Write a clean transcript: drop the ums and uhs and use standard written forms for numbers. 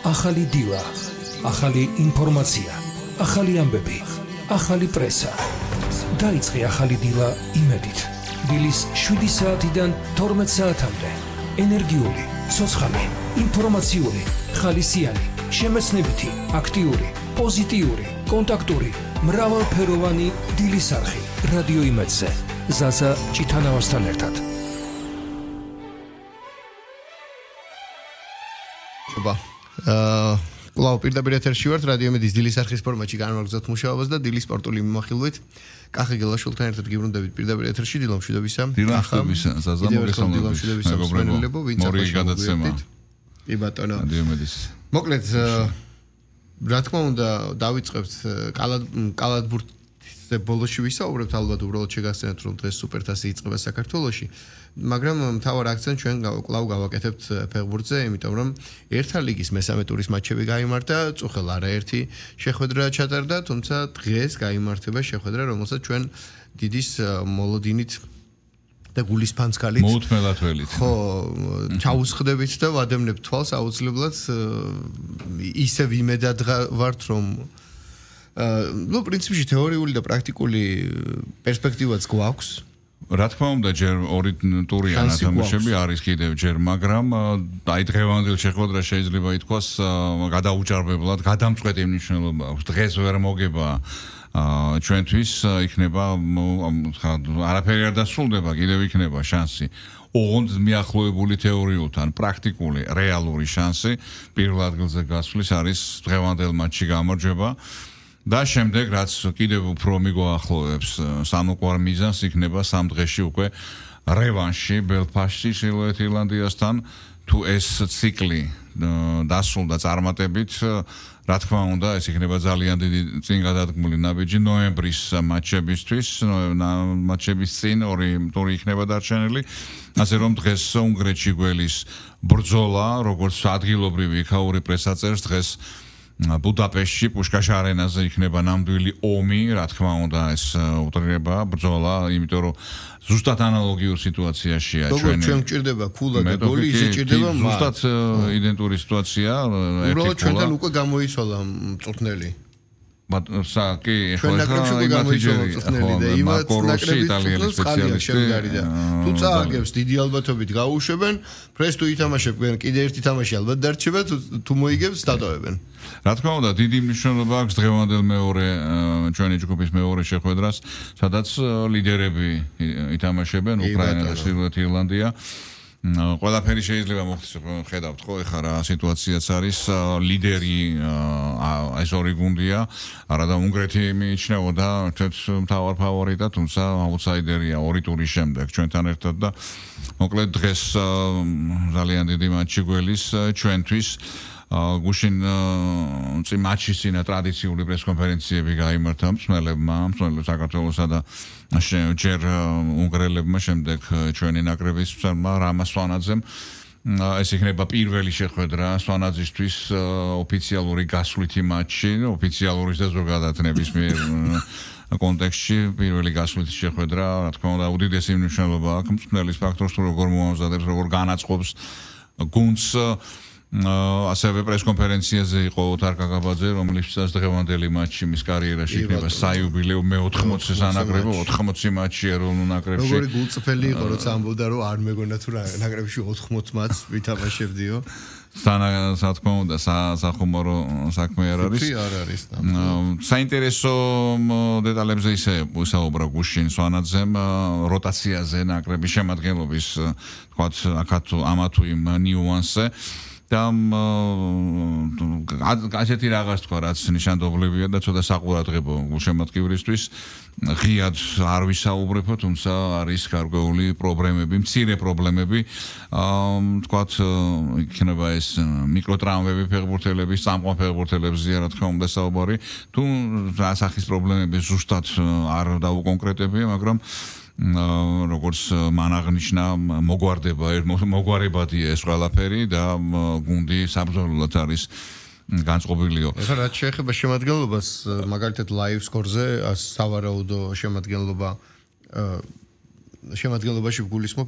ახალი დილა, ახალი ინფორმაცია, ახალი ამბები, ახალი პრესა. დაიწყე ახალი დილა იმედით. დილის 7 საათიდან 12 საათამდე. ენერგიული, ცოცხალი, ინფორმაციული, ხალისიანი, შემეცნებითი, აქტიური, პოზიტიური, კონტაქტური, მრავალფეროვანი დილის არხი. რადიო იმედზე. ზაზა ჭითანავასთან ერთად. კვლავ პირდაპირ ეთერში ვართ რადიო იმედის დილის არხის ფორმატში განვაგრძობთ მუშაობას და დილის სპორტული მიმოხილვით კახი გელაშვილთან ერთად გიბრუნდებით პირდაპირ ეთერში დილა მშვიდობისა. დილამშვიდობისა, ზაზა მოგესალმებით. მეგობრებო, ვინც მორიგი გადაცემა. კი ბატონო. რადიო იმედის. მოკლედ, რა თქმა უნდა, დავიწყებთ კალათბურთზე ბოლოში ვისაუბრებთ, ალბათ უბრალოდ შეგახსენებთ, რომ დღეს სუპერთასი იწყება საქართველოში. მაგრამ მთავარ აქცენტს ჩვენ კვლავ გავაკეთებთ ფეხბურთზე, იმიტომ რომ ერთა ლიგის მესამე ტურის მატჩები გაიმართა, წუხელ არაერთი შეხვედრა ჩატარდა, თუმცა დღეს გაიმართება შეხვედრა, რომელსაც ჩვენ დიდის მოლოდინით და გულისფანცქალით მოუთმელად ველით. ხო, ჩაუსხდებით და ვადევნებთ თვალს აუცილებლად ისევ იმედად ვართ, რომ პრინციპში თეორიული და პრაქტიკული პერსპექტივაც გვაქვს. რა თქმა უნდა, ჯერ ორი ტურიან თამაშები არის კიდევ ჯერ, მაგრამ აი დღევანდელ შეხვედრა შეიძლება ითქვას გადაუჭარბებლად, გადამწყვეტი მნიშვნელობა აქვს. დღეს ვერ მოგება ჩვენთვის იქნება არაფერი არ დასრულდება, კიდევ იქნება შანსი. ოღონდ მიახლოებული თეორიულთან პრაქტიკული, რეალური შანსი პირველ ადგილზე გასვლის არის დღევანდელ მატჩში გამარჯვება. და შემდეგ რაც კიდევ უფრო მიგოახლოვებს სამოყვარ მიზანს იქნება სამ დღეში უკვე რევანში ბელფასტში ჩრდილოეთ ირლანდიასთან თუ ეს ციკლი დასრულდა წარმატებით რა თქმა უნდა ეს იქნება ძალიან დიდი წინ გადადგმული ნაბიჯი ნოემბრის მატჩებისთვის მატჩების წინ ორი ტური იქნება დარჩენილი ასე რომ დღეს უნგრეთში გველის ბრძოლა როგორც ადგილობრივი იქაური პრესა წერს დღეს ბუდაპეშტში პუშკაშ არენაზე იქნება ნამდვილი ომი, რა თქმა უნდა, ეს უტრირება ბრძოლა, იმიტომ რომ ზუსტად ანალოგიურ სიტუაციაშია ჩვენ. ჩვენ გვჭირდება ქულა და გოლი, ისე ჭირდება მათ. ზუსტად იდენტური სიტუაცია, უბრალოდ ჩვენთან უკვე გამოიცვალა მწვრთნელი. კი, ჩვენ ნაკრებში უკვე გამოიცვალა მწვრთნელი და იმათ ნაკრების სპეციალისტი და თუ წააგებს დიდი ალბათობით გაუშვებენ, ფრეს თუ ითამაშებენ, კიდე ერთი თამაში ალბათ დარჩება, თუ მოიგებს დატოვებენ. რა თქმა უნდა, დიდი მნიშვნელობა აქვს დღევანდელ მეორე ჩვენი ჯგუფის მეორე შეხვედრას, სადაც ლიდერები ითამაშებენ უკრაინა და ჩრდილოეთ ირლანდია. ყველაფერი შეიძლება მოხდეს, ხედავთ ხო, ეხლა რა სიტუაციაც არის, ლიდერი ეს ორი გუნდია, არადა უნგრეთი მიიჩნეოდა ერთ-ერთ მთავარ ფავორიტად, თუმცა აუტსაიდერია ორი ტურის შემდეგ ჩვენთან ერთად და მოკლედ დღეს ძალიან დიდი მატჩი გველის ჩვენთვის გუშინ მატჩის წინა ტრადიციული პრესკონფერენციები გაიმართა მსმელებმა საქართველოსა და ჯერ უნგრელებმა შემდეგ ჩვენი ნაკრების მწვრთნელმა რამას სვანაძემ ეს იქნება პირველი შეხვედრა სვანაძისთვის ოფიციალური გასვლითი მატჩი ოფიციალური და ზოგადად ნებისმიერ კონტექსტში პირველი გასვლითი შეხვედრა რა თქმა უნდა უდიდესი მნიშვნელობა აქვს მწვრთნელის ფაქტორს თუ როგორ მოამზადებს როგორ განაწყობს გუნდს ასევე პრესკონფერენციაზე იყო თარკა გაბაძე, რომლისთვისაც დღევანდელი მატჩი მის კარიერაში იქნება საიუბილეო მე-80 სანაკრებო 80 მატჩი ეროვნულ ნაკრებში. როგორი გულწრფელი იყო, როცა ამბობდა, რომ არ მეგონა თუ ნაკრებში 80 მატჩს ვითამაშებდიო. რა თქმა უნდა, სახუმარო საქმე არ არის. არ არის. საინტერესო დეტალებზე ისე ვისაუბრა გუშინ სვანაძემ როტაციაზე ნაკრების შემადგენლობის, თქვათ, აქაც ამათუ იმ ნიუანსზე. და ასეთი რაღაც თქვა, რაც ნიშანდობლებია და ცოტა საყურადღებო გულშემატკივრისთვის ღიად არ ვისაუბრებო, თუმცა არის გარკვეული პრობლემები, მცირე პრობლემები. თქვათ, იქნება ეს მიკროტრაუმები ფეხბურთელების, წამყვან ფეხბურთელებზეა, რა თქმა უნდა, საუბარი. თუ ასახის პრობლემები ზუსტად არ დაუკონკრეტებია, მაგრამ როგორც მან აღნიშნა მოგვარებადია ეს ყველაფერი და გუნდი საბრძოლოდ არის განწყობილიო. ეხლა რაც შეეხება შემადგენლობას, მაგალითად live score-ზე სავარაუდო შემადგენლობაში გულისხმობ